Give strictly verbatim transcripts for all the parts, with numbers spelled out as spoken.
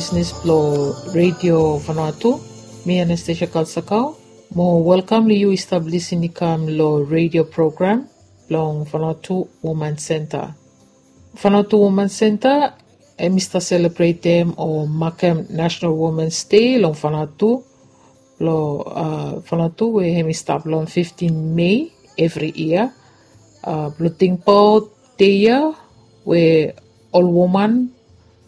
Bisnis blong Redio Vanuatu. Mi Anastasia Kalsakau. Mo welkam long yu i stap lisin i kam long redio program blong Vanuatu Woman Center. Vanuatu Woman Center em i stap selebretem o makem National Women's Day long Vanuatu. Blong Vanuatu we em i stap long fiftin Mei evri yia. Blong tingbaot dei ya we ol woman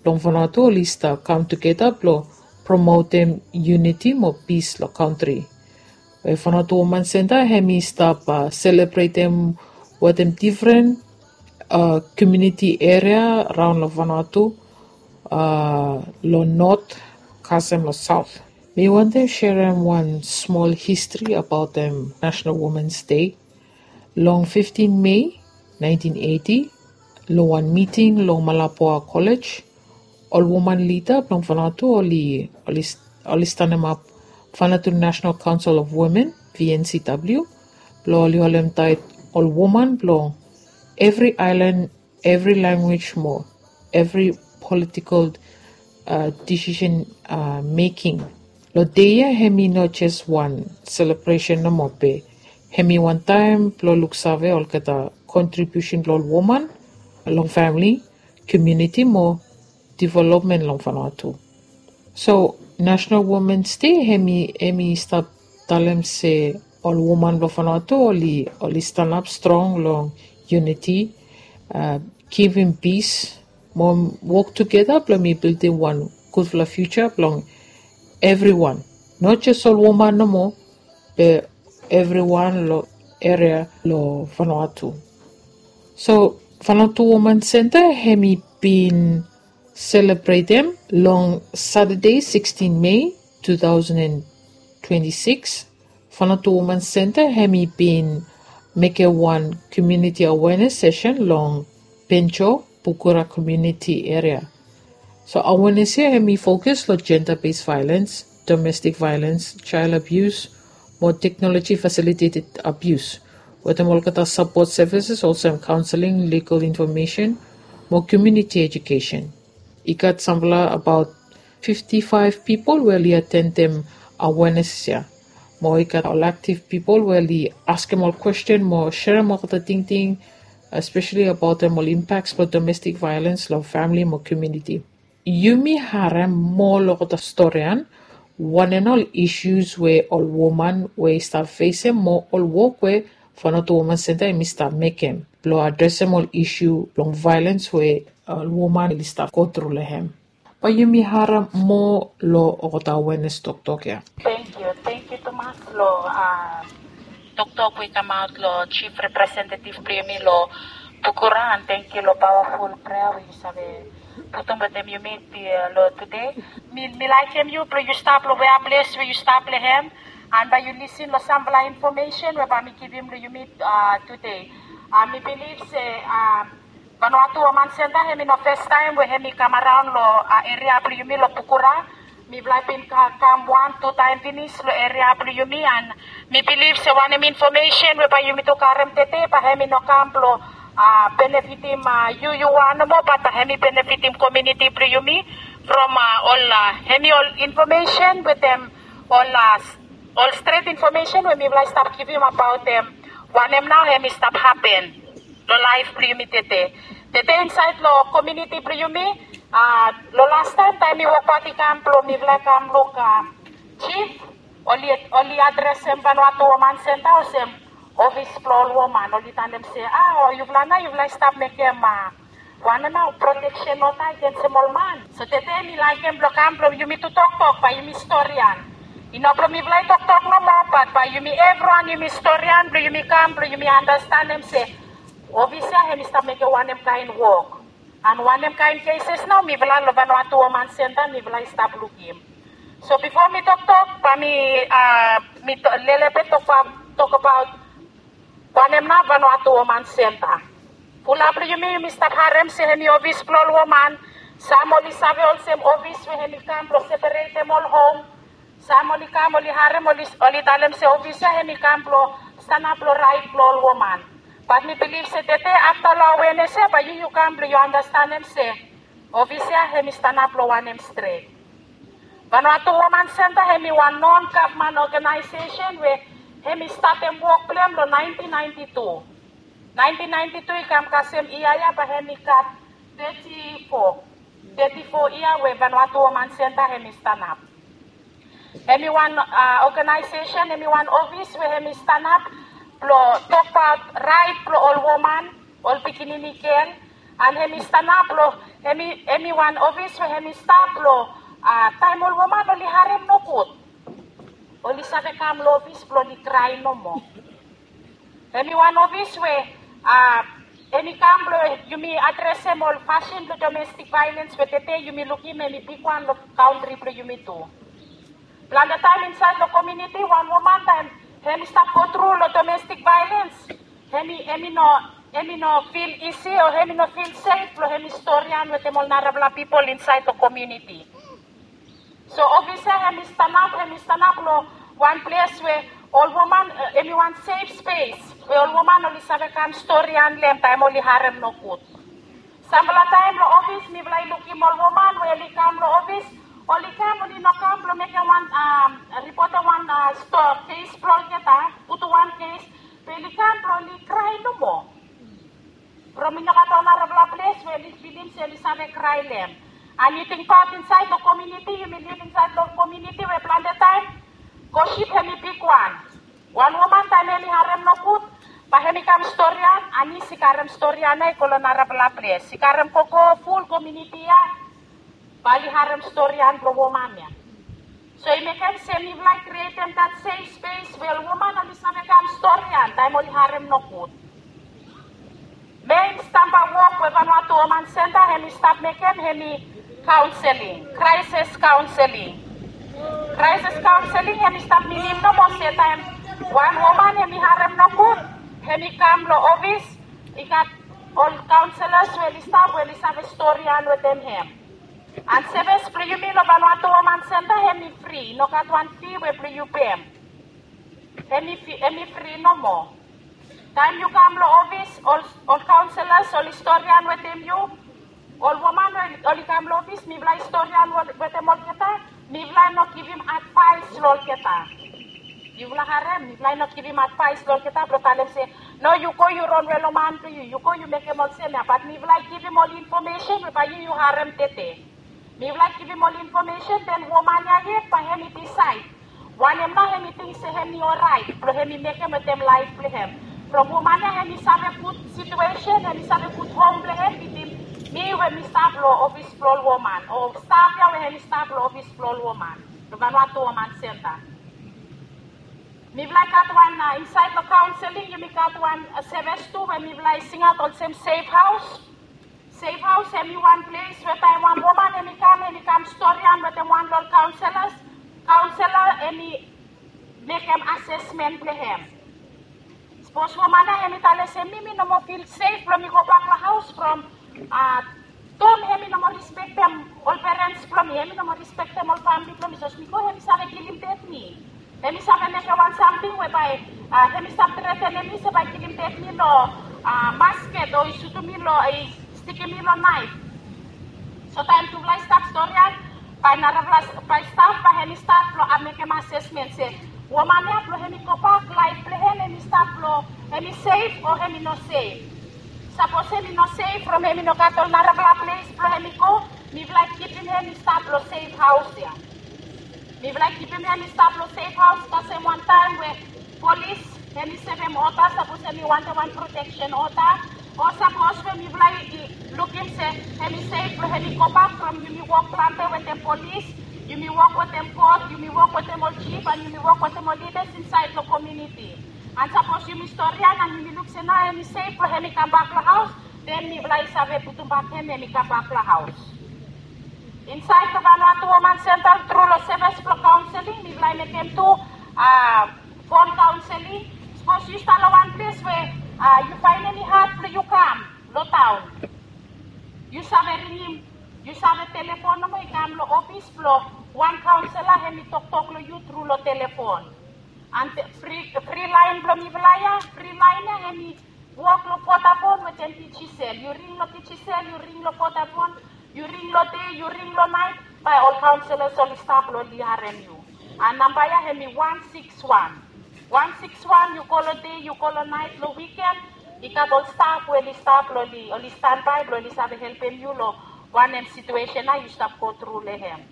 blong Vanuatu oli stap kam tugeta blong promotem yuniti mo pis long kantri. We Vanuatu Woman Center em i stap selebretem wetem difren komuniti eria raon long Vanuatu, long not kasem long saot. Mi wantem serem wan smol histri abaotem National Women's Day. Long fiftin Mei naentin eiti, long wan miting long Malapua College, ol woman lida blong Vanuatu oli oli stanemap Vanuatu National Council of Women, V N C W, blong oli holemtaet ol woman blong evri aelan, evri lanwis mo evri politikol disisen meking. Long dei ya em i no jes wan selebresen nomo be em i wan taem blong luksave olgeta kontribiusen blong ol woman long famili, komuniti mo developmen long Vanuatu. So National Women's Day em i em i stap talem se ol woman blong Vanuatu oli oli stanap strong long yuniti, givim pis mo wok tugeta blong mi bildim wan gudfala fiuja blong evriwan, not jes ol woman nomo be evriwan long eria long Vanuatu. So Vanuatu Woman Center em i bin selebretem long Satade sixtin Mei two thousand and twenty-six. Vanuatu Woman Center em i bin mekem wan komuniti awenes sesen long Penjo, Pukura komuniti eria. So awenes ya em i fokus long jenda bes vaelens, domestik vaelens, jael abius mo teknoloji fasiliteted abius, wetem olgeta sapot sevises olsem kaonseling, ligal infomesen mo komuniti ejukesen. I gat samfala abaot fifti faef pipol we oli atendem awenes ya. Mo i gat ol aktiv pipol we oli askem ol kwesten mo serem olgeta tingting, espeseli abaotem ol impaks blong domestik vaelens long famili mo komuniti. Yumi harem moa long olgeta storian wanem nao ol isus we ol woman we i stap fesem mo ol wok we Vanuatu Woman Center em i stap mekem blong adresem ol isu blong vaelens we ol woman oli stap gotru long hem. Bae yumi harem moa long olgeta awenes toktok ya. Tangkiu, tangkiu tumas long toktok we i kamaot long jif representetif blong yumi long Pukura, and tangkiu long pawaful prea we yu save putum wetem yumi long tude. Mi mi laikim yu blong yu stap long wea ples we yu stap long hem, and bae yu lisin long samfala infomesen we bae mi givim long yumi tude. Mi bilif se Vanuatu Woman Center em i no fes taem we em i kam araon long eria blong yumi long Pukura. Mifala i bin kam wan tu taem finis long eria blong yumi, and mi bilif se wanem infomesen we bae yumi tu karem tede bae em i no kam blong benefitim yu yu wan nomo, bat bae em i benefitim komuniti blong yumi from ol em i ol infomesen wetem ol ol stret infomesen we mifala i stap givim abaot wanem nao em i stap hapen long laef blong yumi tede. Tede insaed long komuniti blong yumi, long lastaem taem mi wokbaot i kam blong mifala i kam luk jif, oli oli adresem Vanuatu Woman Center olsem ofis blong ol woman. Oli talem se a, o yufala nao yufala i stap mekem wanem nao proteksen nomo agensem ol man. So tede mi laikim blong kam blong yumi tu toktok bae yumi storian. I no blong mifala i toktok nomo, bat bae yumi evriwan yumi storian blong yumi kam blong yumi andastanem se ofis ya em i stap mekem wanem kaen wok, and wanem kaen keses nao mifala long Vanuatu Woman Center mifala i stap lukim. So bifo mi toktok bae mi mi lelebet tokbaot wanem nao Vanuatu Woman Center. Fulap long yumi yumi stap harem se em i ofis blong ol woman. Sam oli save olsem ofis we em i kam blong seperetem ol hom. Sam oli kam oli harem oli oli talem se ofis ya em i kam blong stanap long raet blong ol woman. Bat mi bilif se tede afta long awenes ya bae yu yu kam blong yu andastanem se ofis ya em i stanap long wanem stret. Vanuatu Woman Center hemi wan non-gavman oganaesesen we hemi statem wok blong hem long naentin naenti tu. Naentin naenti tu i kam kasem yia ya bae hemi gat teti fo, teti fo yia we Vanuatu Woman Center hemi stanap. Hemi wan oganaesesen, hemi wan ofis we hemi stanap blong tokbaot raet blong ol woman, ol pikinini gel. An hemi stanap blong, hemi wan ofis we hemi stap blong taem ol woman oli harem nogud, oli save kam long ofis blong oli krae nomo. Hemi wan ofis we hemi kam blong yumi adresem ol fasin blong domestik vaelens we tede yumi lukim hemi bigwan long kantri blong yumi tu. Plante taem insaed long komuniti wan woman taem hemi stap gotru long domestik vaelens, hemi hemi no hemi no fil isi o hemi no fil sef blong hemi storian wetem ol narafala pipol insaed long komuniti. So ofis ya hemi stanap, hemi stanap long wan ples we ol woman, hemi wan sef spes we ol woman oli save kam storian long hem taem oli harem nogud. Sampela taem long ofis mifala i lukim ol woman we oli kam long ofis, oli kam, oli no kam blong mekem wan, ripotem wan kes blong olgeta, putum wan kes, be oli kam blong oli krae nomo. From i no gat ol narafala ples we oli filim se oli save krae long hem. An yu tingbaot insaed long komuniti, yumi liv insaed long komuniti we plante taem gosip hemi bigwan. Wan woman taem hemi harem nogud, bae hemi kam storian, anis i karem storian ya i go long narafala ples, i karem gogo ful komuniti ya, bae oli harem storian blong woman ya. So i mekem se mifala i krietem dat sef spes we ol woman oli save kam storian taem oli harem nogud. Mein stamba wok we Vanuatu Woman Center hemi stap mekem hemi kaonseling, kraesis kaonseling. Kraesis kaonseling hemi stap minim nomo se taem wan woman hemi harem nogud, hemi kam long ofis, i gat ol kaonselas we oli stap we oli save storian wetem hem. An sevis blong yumi long Vanuatu Woman Center hemi fri, i no gat wan fi we blong yu pem. Hemi fi, hemi fri nomo. Taem yu kam long ofis, ol ol kaonselas oli storian wetem yu. Ol woman we oli kam long ofis, mifala i storian wetem olgeta. Mifala i no givim advaes long olgeta. Yufala harem, mifala i no givim advaes long olgeta blong talem se, no, yu go yu ronwe long man blong yu, yu go yu mekem olsem ya, bat mifala i givim ol infomesen we bae yu yu harem tede. Mifala i givim ol infomesen, den woman ya yet bae hemi disaed wanem nao hemi ting se hemi oraet blong hemi mekem wetem laef blong hem. From woman ya hemi save gud situesen, hemi save gud hom blong hem bitim mi we mi stap long ofis blong ol woman, o staf ya we hemi stap long ofis blong ol woman long Vanuatu Woman Center. Mifala i gat wan, insaed long kaonseling yumi gat wan sevis tu we mifala i singaot olsem sef haos. Sef haos hemi wan ples we taem wan woman hemi kam, hemi kam storian wetem wan long ol kaonselas, kaonsela hemi mekem asesmen blong hem. Sapos woman ya hemi talem se mi, mi no moa fil sef blong mi gobak long haos from Tom hemi no moa rispektem ol perens blong mi, hemi no moa rispektem ol famili blong mi, sapos mi go hemi save kilim ded mi. Hemi save mekem wan samting we bae hemi stap tretenem mi se bae kilim ded mi long masket o i sutum mi long, i stikim mi long naef. So taem tufala i stap storian, bae narafala, bae staf bae hemi stat blong mekem asesmen se woman ya blong hemi gobak laef blong hem hemi stap blong hemi sef o hemi no sef. Sapos hemi no sef from hemi no gat ol narafala ples blong hemi go, mifala i kipim hem i stap long sef haos ya. Mifala i kipim hem i stap long sef haos kasem wantaem we polis hemi sevem oda sapos hemi wantem wan proteksen oda, o sapos we mifala i lukim se hemi sef blong hemi gobak from yumi wok plante wetem polis, yumi wok wetem kot, yumi wok wetem ol jif, an yumi wok wetem ol lidas insaed long komuniti. An sapos yumi storian an yumi luk se nao hemi sef blong hemi kambak long haos, den mifala i save putumbak hem hemi kambak long haos. Insaed long Vanuatu Woman Center tru long sevis blong kaonseling mifala i mekem tu fon kaonseling. Sapos yu stap long wan ples we yu faenem i had blong yu kam long taon, yu save ringim, yu save telefon nomo i kam long ofis blong wan kaonsela hemi toktok long yu tru long telefon. An fri, fri laen blong mifala ya, fri laen ya hemi wok long Vodafone wetem Digicel. Yu ring long Digicel, yu ring long Vodafone, yu ring long dei, yu ring long naet, Bae ol kaonselas oli stap long oli harem yu. A namba ya hemi wan sikis wan. Wan sikis wan, yu kol long dei, yu kol long naet, long wiken, i gat ol staf we oli stap long oli, oli stanbae blong oli save helpem yu long wanem situesen ya yu stap go tru long hem.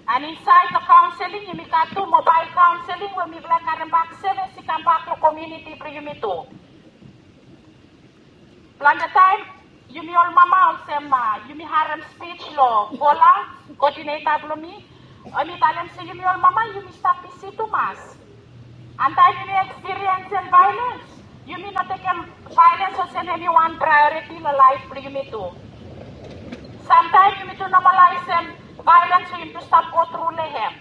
An insaed long kaonseling yumi gat tu mobael kaonseling we mifala i karem bak sevis i kambak long komuniti blong yumi tu. Plante taem yumi ol mama olsem, a, yumi harem spij long Bola, kodineta blong mi, hemi talem se yumi ol mama yumi stap bisi tumas. An taem yumi ekspiriensem vaelens, yumi no tekem vaelens olsem hemi wan praeoriti long laef blong yumi tu. Samtaem yumi tu nomalaesem vaelens we yumi tu stap go tru long hem.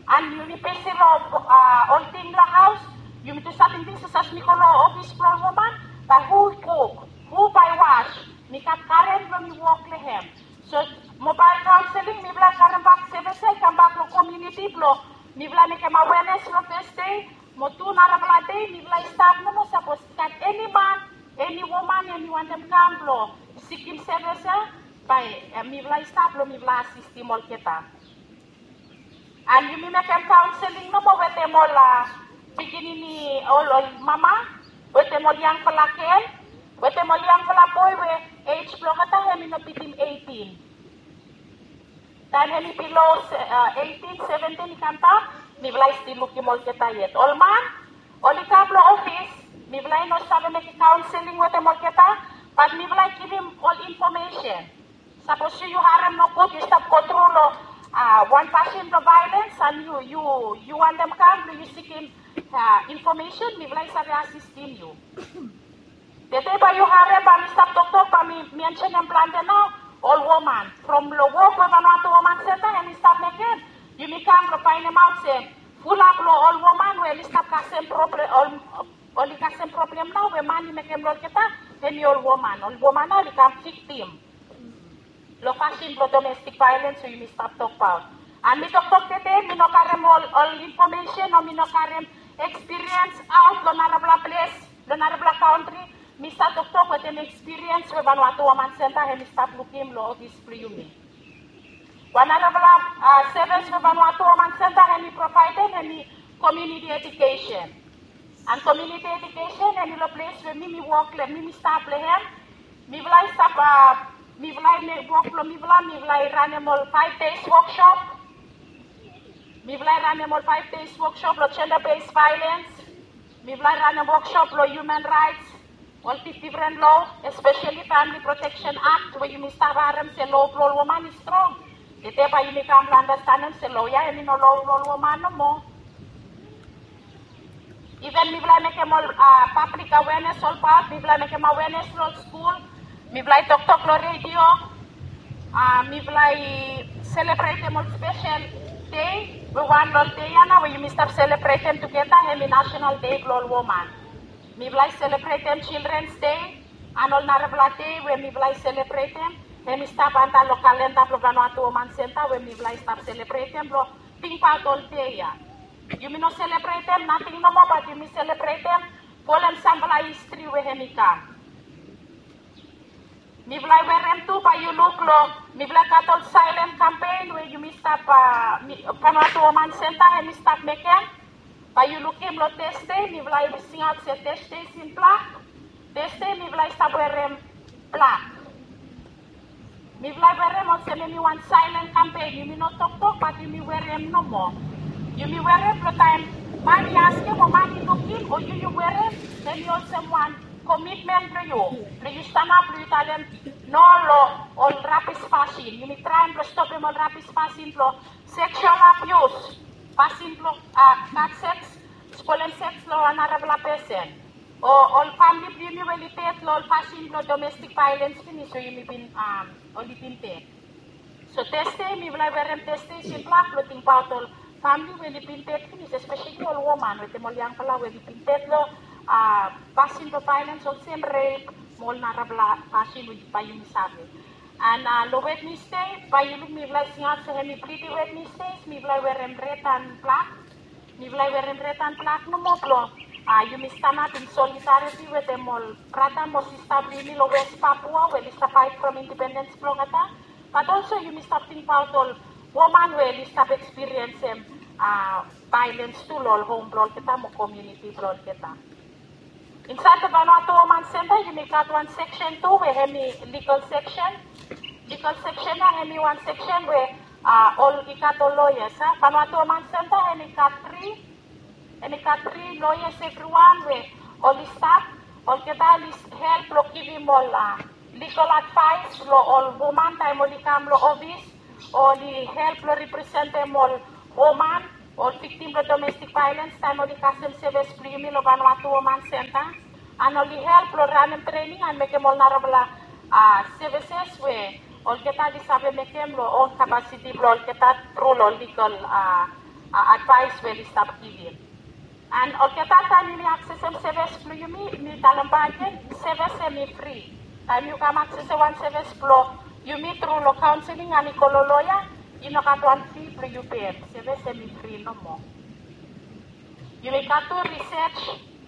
An yumi bisi long, a, ol ting long haos, yumi tu save tingting se sapos mi go long ofis blong ol woman, bae hu i kuk, hu bae i was, mi gat karen blong mi wok long hem. So mobael kaonseling mifala i karem bak sevis ya i kambak long komuniti blong mifala mekem awenes long Tasde, mo tu narafala dei mifala i stap nomo sapos i gat eni man, eni woman hemi wantem kam blong sikim sevis ya, bae, e, mifala i stap blong mifala asistem olgeta. An yumi mekem kaonseling nomo wetem ol, a, pikinini, ol, ol mama, wetem ol yangfala gel, wetem ol yangfala boe we ej blong olgeta hemi no bitim eitin. Taem hemi bilo, a, eitin, seventin i kamdaon, mifala i stil lukim olgeta yet. Ol man oli kam long ofis, mifala i no save mekem kaonseling wetem olgeta, bat mifala i givim ol infomesen. Sapos yu, yu harem nogud, yu stap go tru long, a, wan fasin blong vaelens, an yu, yu, yu wantem kam blong yu sikim, a, infomesen, mifala i save asistem yu. Tede bae yu harem bae mi stap toktok bae mi mensenem plante nao, ol woman. From long wok we Vanuatu Woman Center hemi stap mekem, yumi kam blong faenemaot se fulap long ol woman we oli stap kasem problem, ol, oli kasem problem nao we man i mekem long olgeta, hemi ol woman. Ol woman nao oli kam viktim long fasin blong domestik vaelens we yumi stap tokbaot. An mi toktok tede, mi no karem ol, ol infomesen o mi no karem ekspiriens aot long narafala ples, long narafala kantri. Mi stap toktok wetem ekspiriens we Vanuatu Woman Center hemi stap lukim long ofis blong yumi. Wan narafala, a, sevis we Vanuatu Woman Center hemi provaedem hemi komuniti edukesen. An komuniti edukesen hemi long ples we mi mi wok long, mi mi stap long hem. Mifala i stap, a, mifala i mekem wok blong mifala, mifala i ranem ol five days workshop. Mifala i ranem ol five days workshop long gender based violence. Mifala i ranem workshop long human rights, ol dif-, difren lo, especially Family Protection Act, we yumi stap harem se lo blong ol woman i strong. Tede bae yumi kam blong andastanem se lo ya hemi no lo blong ol woman nomo. Iven mifala i mekem ol, a, pablik awenes olbaot, mifala i mekem awenes long skul, mifala i toktok long redio, a, mifala i selebretem ol spesel dei, we wan long ol dei ya nao we yumi stap selebretem tugeta, hemi National Day blong ol Woman. Mifala i selebretem Children's Day, an ol narafala dei we mifala i selebretem, hemi stap antap long kalenda blong Vanuatu Woman Center we mifala i stap selebretem blong tingbaot ol dei ya. Yumi no selebretem nating nomo, bat yumi selebretem folem samfala histri we hemi kam. Mifala i werem tu, bae yu luk long, mifala i gat ol silent campaign we yumi stap, a, mi, Vanuatu Woman Center hemi stap mekem. Bae yu lukim long Tasde, mifala i singaot se Tasde is in black. Tasde mifala i stap werem blak. Mifala i werem olsem hemi wan silent campaign, yumi no toktok, bat yumi werem nomo. Yumi werem blong taem man i askem o man i lukim o yu yu werem, hemi olsem wan komitmen blong yu, blong yu stanap blong yu talem no long ol rabis fasin. Yumi traem blong stopem ol rabis fasin blong seksual abius, fasin blong, a, gat seks, spolem seks long wan narafala pesen. O ol famle blong yumi we oli ded long ol fasin blong domestik vaelens finis we yumi bin, a, oli bin ded. So Tasde mifala i werem Tasde is in black blong tingbaot ol famle we oli bin ded finis, espeseli ol woman wetem ol yangfala we oli bin ded long, a, fasin blong vaelens olsem rep mo ol narafala fasin we bae yumi save. An, a, long Wednesday bae yu luk mifala i singaot se hemi Bleeding Wednesday, mifala i werem red an blak. Mifala i werem red an blak nomo blong, a, yumi stanap in solidariti wetem ol brata mo sista blong yumi long West Papua we oli stap faet from indipendens blong olgeta. But also yumi stap tingbaot ol woman we oli stap ekspiriensim, ah, vaelens tu lo ol hom blo olgeta mo komuniti blo olgeta. Insaed lo Vanuatu Woman Center yumi gat wan seksen tu we hemi ligal seksen. Ligal seksen ya hemi wan seksen we, ah, ol i gat ol loyas, ah. Vanuatu Woman Center hemi gat tri, hemi gat tri loyas evriwan we oli stap, olgeta oli help lo givim ol, ah, ligal advaes lo ol woman taem oli kam lo ofis, oli help lo representem ol woman, ol viktim blo domestik vaelens taem oli kasem sevis blo yumi lo Vanuatu Woman Center. And oli help lo ranem trening and mekem ol narafala, ah, sevises we olgeta oli save mekem lo own kapasiti blo olgeta tru lo ligal, ah, ah, advaes we oli stap givim. And olgeta taem yumi aksesem sevis blo yumi, mi talem bakegen, sevis hemi fri. Taem yu kam aksesem wan sevis blo yumi tru lo kaonseling and i go lo loya, i no gat wan fi blo yu pem. Sevis hemi fri nomo. Yumi gat tu risej,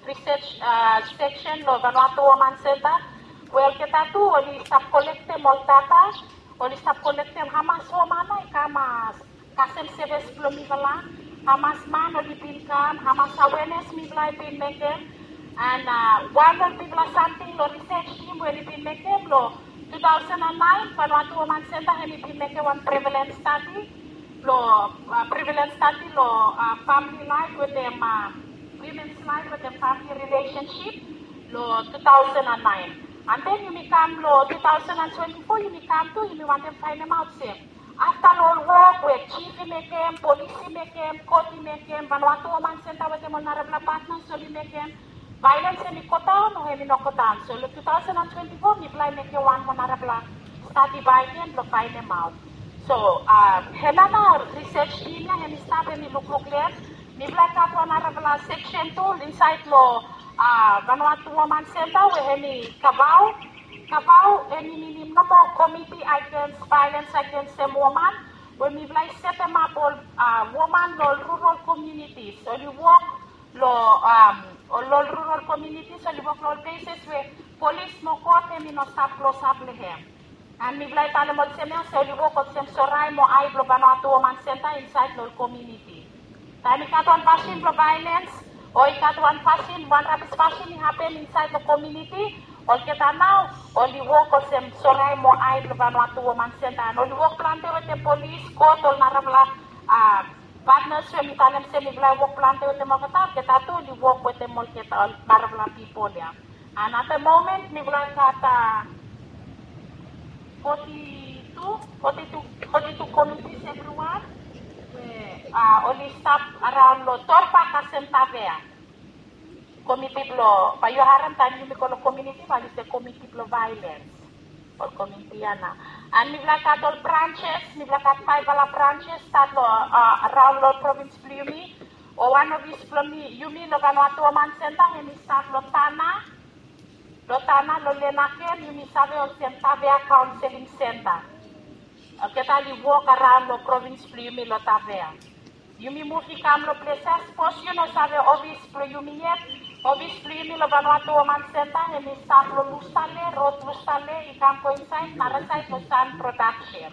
risej, ah, seksen lo Vanuatu Woman Center we olgeta tu oli stap kolektem ol data, oli stap kolektem hamas woman nao i kam, ah, kasem sevis blo mifala, hamas man oli bin kam, hamas awenes mifala i bin mekem. And, ah, wan lo bigfala samting lo risej tim we oli bin mekem lo tu taosen and naen, Vanuatu Woman Center hemi bin mekem wan prevalens stadi lo, ah, prevalens stadi lo, ah, famili laef wetem, ah, womens laef wetem famili rilesensip lo tu taosen and naen. And then yumi kam lo tu taosen and twenti fo, yumi kam tu, yumi wantem faenemaot se afta lo ol wok we jif i mekem, polis i mekem, kot i mekem, Vanuatu Woman Center wetem ol narafala patnas oli mekem, vaelens hemi godaon o hemi no godaon. So lo tu taosen and twenti fo mifala i mekem wan moa narafala stadi bakegen blo faenemaot. So, ah, hemia nao risej tim ya hemi stap hemi lukluk lo hem. Mifala i gat wan narafala seksen tu insaed lo, ah, Vanuatu Woman Center we hemi kavao. Kavao hemi minim nomo Committee Against Violence Against a Woman, we mifala i setemap ol, ah, woman lo ol rural communities. Oli wok lo, um, ol, ol rural communities, oli wok lo ol places we polis mo kot hemi no stap klosap lo hem. And mifala i talem olsem ya se oli wok olsem sorae mo ae blo Vanuatu Woman Center insaed lo ol komuniti. Taem i gat wan fasin blo vaelens o i gat wan fasin, wan rabis fasin i hapen insaed lo komuniti, olgeta nao oli wok olsem sorae mo ae blo Vanuatu Woman Center. And oli wok plante wetem polis, kot, ol narafala, ah, patnas we mi talem se mifala i wok plante wetem olgeta, olgeta tu oli wok wetem olgeta, ol narafala pipol ya. And at the moment mifala i gat, ah, foti tu, foti tu, foti tu komitis evriwan we, ah, oli stap araon lo Torba kasem Tavea. Komiti blo, bae yu harem taem yumi go lo komuniti bae oli se komiti blo vaelens. Ol komiti ya nao. And mifala gat ol branches, mifala gat faefala branches stat lo, ah, araon lo provins blo yumi. O wan ofis blo mi, yumi lo Vanuatu Woman Center, hemi stat lo Tanna. Lo Tanna, lo Lenaken, yumi save olsem Tavea Counseling Center. Olgeta oli wok araon lo provins blo yumi lo Tavea. Yumi muv i kam lo ples ya, sapos yu no save ofis blo yumi yet, ofis blo yumi lo Vanuatu Woman Center, hemi stap lo Lusitale, rod Lusitale, i kam go insaed narasaed lo Sun Production.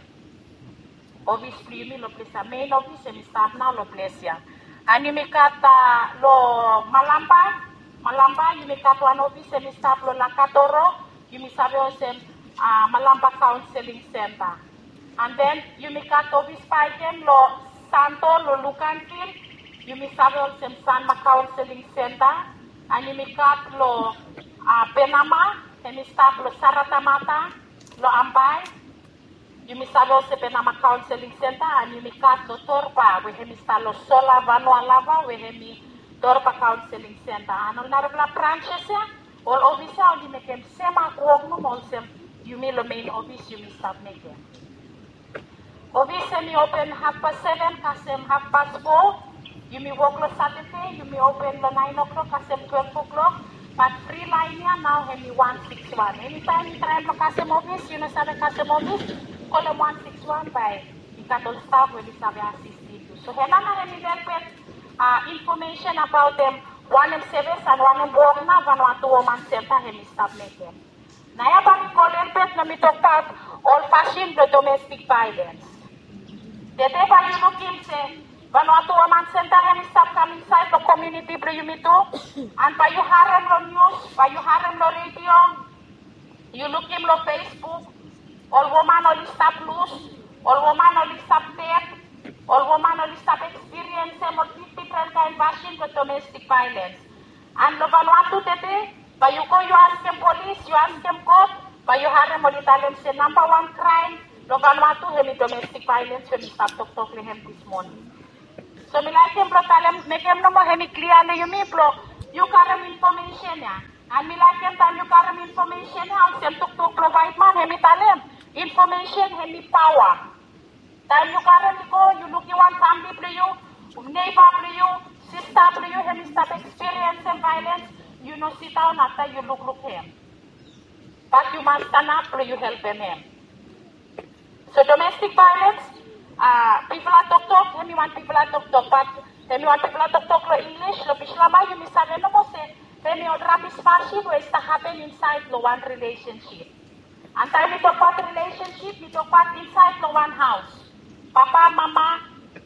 Ofis blo yumi lo ples ya, mein ofis hemi stap nao lo ples ya. And yumi gat, ah, lo Malampa, Malampa, yumi gat wan ofis hemi stap lo Lakatoro, yumi save olsem, ah, Malampa Counseling Center. And then yumi gat ofis bakegen lo Santo, lo Luganville, yumi save olsem Sanma Counseling Center. And yumi gat lo, ah, Penama, hemi stap lo Saratamata, lo Ambae. Yumi save olsem Penama Counseling Center, and yumi gat lo Torba, we hemi stap lo Sola Vanua Lava, we hemi Torba Counseling Center. And ol narafala branches ya, ol ofis ya, oli mekem sem wok nomo olsem yumi lo mein ofis yumi stap mekem. Ofis hemi open hafpas seven kasem hafpas fo. Yumi wok lo Satade, yumi open lo naen o'clock kasem twelve o'clock. Bat fri laen ya nao hemi wan sikis wan. Enitaem yu traem lo kasem ofis, yu no save kasem ofis, kolem wan sikis wan bae i gat ol staf we oli save asistem yu. So hemia nao hemi lelebet, ah, infomesen abaotem wanem sevis and wanem wok nao Vanuatu Woman Center hemi stap mekem. Naoia bae mi go lelebet na mi tokbaot Ol fasin blong domestik vaelens. Tede bae yu lukim se Vanuatu Woman Senta hemi stap kam insaed long komuniti blong yumitu, and bae yu harem long nius, bae yu harem long redio, yu lukim long Facebook, ol woman oli stap lus, ol woman oli stap ded, ol woman oli stap ekspiriensem ol difdifren kaen fasin blong domestik vaelens. And long Vanuatu tede, bae yu go yu askem polis, yu askem kot, bae yu harem oli talem se nambawan kraem long Vanuatu hemi domestik vaelens we mi stap toktok long hem dis moning. So mi laekem blong talem, mekem nomo hemi klia long yumi blong yu karem infomesen ya. And mi laekem taem yu karem infomesen ya, olsem toktok blong waetman hemi talem, infomesen hemi paoa. Taem yu karem i go, yu lukim wan famili blong yu, neiba blong yu, sista blong yu hemi stap ekspiriensem vaelens, yu no sidaon afta yu lukluk hem. Bat yu mas stanap blong yu helpem hem. So domestik vaelens, a, bigfala toktok, hemi wan bigfala toktok, bat hemi wan bigfala toktok long Inglis, long Bislama yumi save nomo se hemi ol rabis fasin we i stap hapen insaed long wan rilesensip. And taem mi tokbaot rilesensip, mi tokbaot insaed long wan haos. Papa, mama,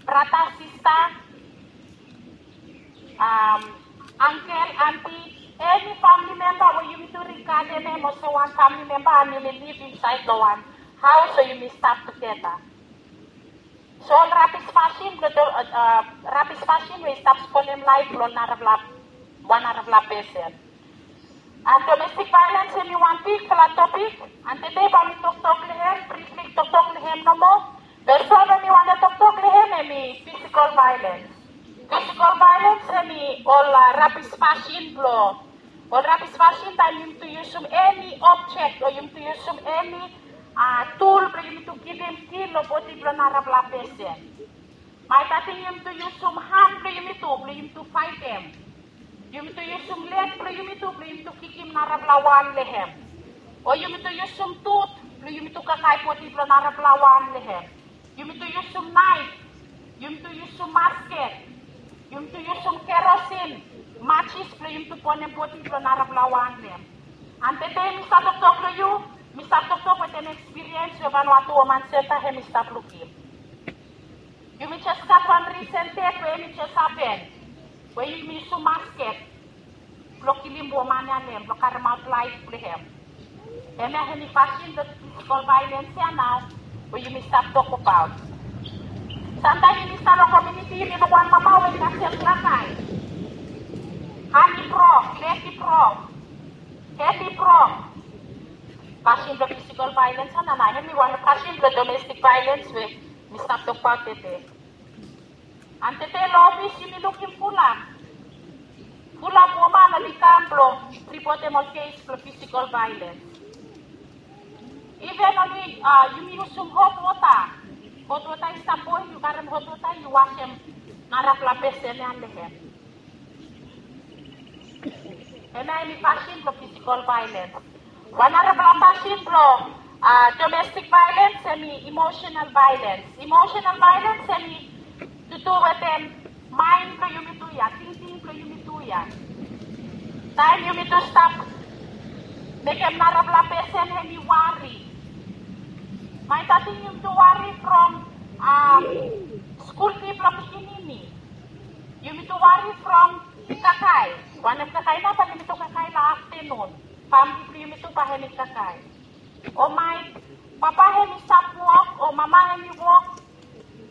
brata, sista, angkel, anti, eni famili memba we yumitu rigadem hem olsem wan famili memba and yumi liv insaed long wan haos we yumi stap tugeta. So ol rabis fasin blong, rabis fasin we i stap spolem laef blong narafala, wan narafala pesen. And domestik vaelens hemi wan bigfala topik, and tede bae mi toktok long hem, brifli toktok long hem nomo. Be so we mi wantem toktok long hem hemi fisikol vaelens. Fisikol vaelens hemi ol, a, rabis fasin blong, ol rabis fasin taem yumitu yusum eni objek o yumitu yusum eni, a, tul blong yumitu givim kil long bodi blong narafala pesen. Maet ating yumitu yusum han blong yumitu, blong yumitu faetem. Yumitu yusum leg blong yumitu, blong yumitu kikim narafala wan long hem. O yumitu yusum tut blong yumitu kakae bodi blong narafala wan long hem. Yumitu yusum naef, yumitu yusum masket, yumitu yusum kerosin, majis blong yumitu bonem bodi blong narafala wan long hem. And tede mi stap toktok long yu, mi stap toktok wetem ekspiriens we Vanuatu Woman Senta hemi stap lukim. Yumi jes gat wan risen ded we hemi jes hapen, we yumi yusum masket blong kilim woman ya long hem, blong karemaot laef blong hem. Hemia hemi fasin blong fisikol vaelens ya nao we yumi stap tokbaot. Samtaem yumi stap long komuniti, yumi luk wan mama we i kasem kakae. Han i brok, leg i brok, hed i brok. Fasin blong fisikol vaelens ya nao, hemi wan fasin blong domestik vaelens we mi stap tokbaot tede. And tede long ofis yumi lukim fulap, fulap woman oli kam blong ripotem ol kes blong fisikol vaelens. Iven oli, a, yumi yusum hot wota. Hot wota i stap boel, yu karem hot wota, yu wasem narafala pesen ya long hem. Hemia hemi fasin blong fisikol vaelens. Wan narafala fasin blong, a, domestik vaelens hemi emosenal vaelens. Emosenal vaelens hemi tudu wetem maen blong yumitu ya, tingting blong yumitu ya. Taem yumitu stap mekem narafala pesen hemi wari. Maet ating yumitu wari from, a, skul fi blong pikinini. Yumitu wari from kakae. Wanem kakae nao, bae yumitu kakae long aftenun. Famili blong yumitu bae hemi kakae. O maet papa hemi stap wok, o mama hemi wok,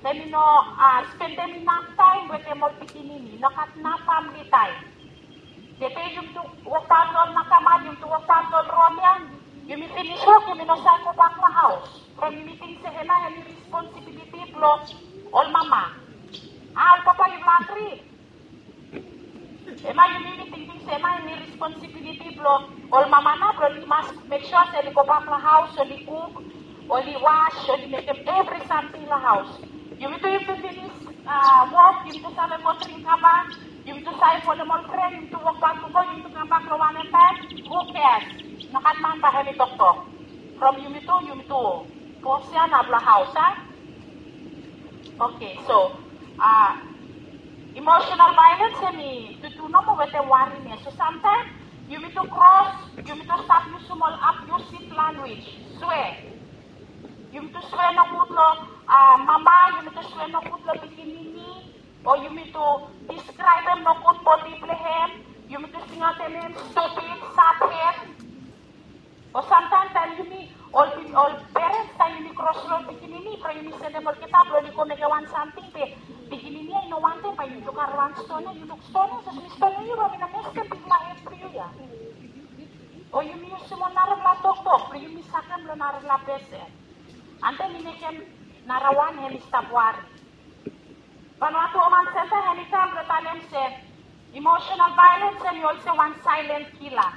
hemi no, a, spendem inaf taem wetem ol pikinini, no gat inaf famili taem. Tede yumitu wokbaot long ol nakamal, yumitu wokbaot long ol rom ya, yumi finis wok, yumi no save gobak long haos. From yumi ting se hemia hemi responsibiliti blong ol mama. A, ol papa, yufala agri? Hemia yumi tingting se hemia hemi responsibiliti blong ol mama nao, blong oli mas mek sua se oli gobak long haos, oli kuk, oli was, oli mekem evri samting long haos. Yumitu, yumitu finis, a, wok, yumitu save go dring kava, yumitu save folem ol fren, yumitu wokbaot gogo, yumitu kambak long wanem taem, who cares? Nogat man bae hemi toktok. From yumitu, yumitu bos ya nao blong haos, a? Oke, so, a, emosenal vaelens hemi tutu nomo wetem warim ya. So samtaem yumitu kros, yumitu stap yusum ol abiusif lanwis, swea. Yumi tu swe nogud lo mama, yumi tu swe nogud lo pikinini, o yumi tu diskraebem nogud bodi blong hem, yumi tu singaotem hem stupid, sat het. O samtaem taem yumi ol pi- ol perens taem yumi krosro ol pikinini bro, yumi sendem olgeta blo oli go mekem wan samting be pikinini ya i no wantem, bae yumi tu karem wan stone ya, yu luk stone ya, jes mi stonem yu bro, mi no meskem bigfala het blo yu ya. O yumi yusum ol narafala toktok blo yumi sakem lo narafala pesen. Ante mi mekem narawan hem i stap wari. Vanuatu Woman Center hem i kam blo talem se emotional violence hem i olsem wan silent killer.